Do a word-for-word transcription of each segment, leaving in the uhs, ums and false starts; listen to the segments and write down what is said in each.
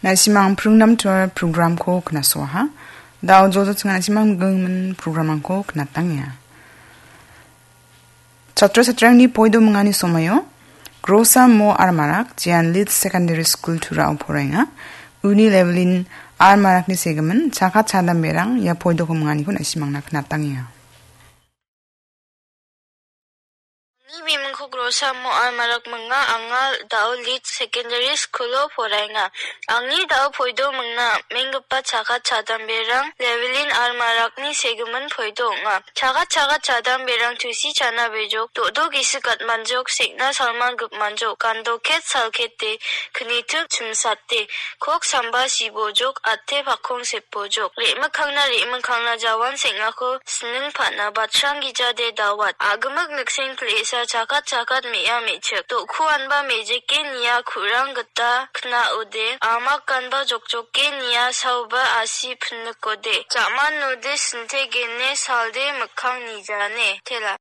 Na·simang pringnam tuar programko knasoaha. Dao jojo chinga na·simang gengmen programangko knatangia. Chatra chatrangni poido mingani somayo Grosa Mo Armarak, Jian Lead Secondary School Turao poraenga. Uni Levelin Armarakni segimin, chaka chadamberang ia poidoko minganiko na·simangna knatangia. Angni bimingko Grosa Mo Armarak minga, anga Dao Lead Secondary School-o poraenga. Angni dao poido mingna menggipa chakat chadamberang Levelin Armarakni segimin poido ong·a. Chakat chakat chadamberang tusi chana bejok, do·do gisik gatmanjok, sekna salman gipmanjok, gandoket salkete, knitik chimsate, kok samba sibojok, ate pakkong sepojok. Re·mikkangna re·mikkangna jawan seng·ako sining pa·na batrang gijade dawat. A·gimik nikseng pil·esa chakat chakat me·a me·chik. Do·ku anba mejeke nia ku·rang gita kna·ode. Amak ganba jokjoke nia saoba asi pinikode. Ja·manode sintegene salde mikkang nijane. Tela.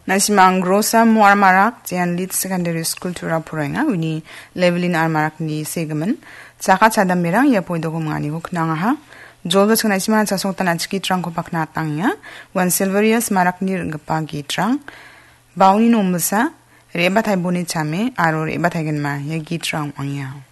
Na·simang Grosa Mo Armarak, Jian Lead Secondary School Turao poraenga, uni Levelin Armarakni segimin. Chaka chadamberang ia poidoko minganiko knangaha. Joldo ching na·simang chasongtan achiki gitrangko pakna atangenga. Uan Silverius Marakni ring·gipa gitrang. Bauni nomilsa, re·bataiboni chame, aro re·bataigenma ia gitrang ong·angia.